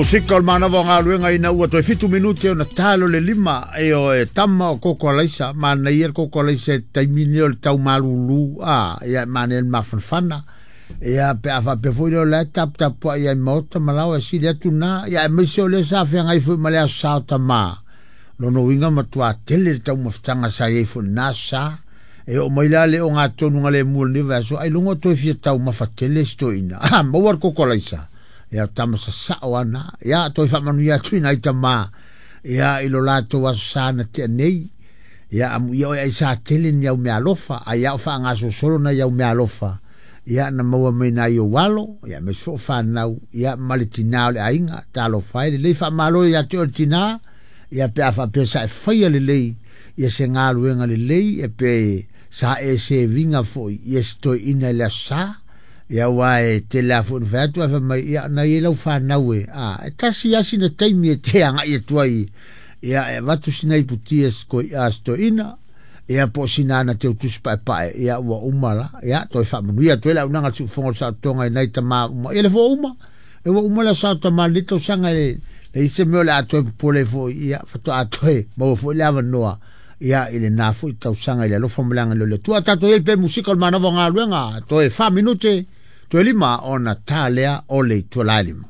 Musika o le manava o galuega ina ua toe 7 minute ona talo le 5 e o e tama o koko alaisa manaia le koko alaisa e taimi nei o le tau malulu a ia manaia le mafanafana ia pe a faapea foi lea o la e taputapuai ai maota ma laoa e sili atu na ia aemaise o lea sa feagai foi ma le aso sa o tamā lona uiga matuā tele le taumafataga sa i ai foi lena aso sa e oo mai la le ogatotonu galemu o lenei vaiaso ailoga o toe fia taumafa tele si toeaina a maua le koko alaisa ia tama sasao ana ia toe faamanuia atu i nai tamā ia i lo latou aso sa na tea nei ia amuia oe ai sa tele ni au meaalofa ai ao faagasolosolo nai au meaalofa ia na maua mai nai ou alo ia aemaise foi o fanau ia ma le tinā o le aiga talofa ai lelei faamalo ia te oe le tinā ia pe a faapea sa e faia lelei ia se galuega lelei e pe sa e seviga foi ia se toeaina i le aso sa ia aua e tele lava foi ina fai atu ae fai mai ia na i ai lau fanau e a e tasi lava sina taimi e te agai atu ai ia e avatu sina iputi a se toeaina ia po o sina ana teutusi paepae ia ua uma la ia toe faamanuia atu ai le auaunaga a le siufofoga o le saotoga i nai tamā uma ia le foi ua uma le ua uma le aso sa o tamā i lenei tausaga e leai se mea o le a toe popole ai foi ia faatoa toe maua foi le avanoa ia i lena foi tausaga i le alofa ma le agalelei o le Atua. Tatou i ai pe musika o le manava o galuega, toe 4 minute, toe 5 ona ta lea o le ituala e 5.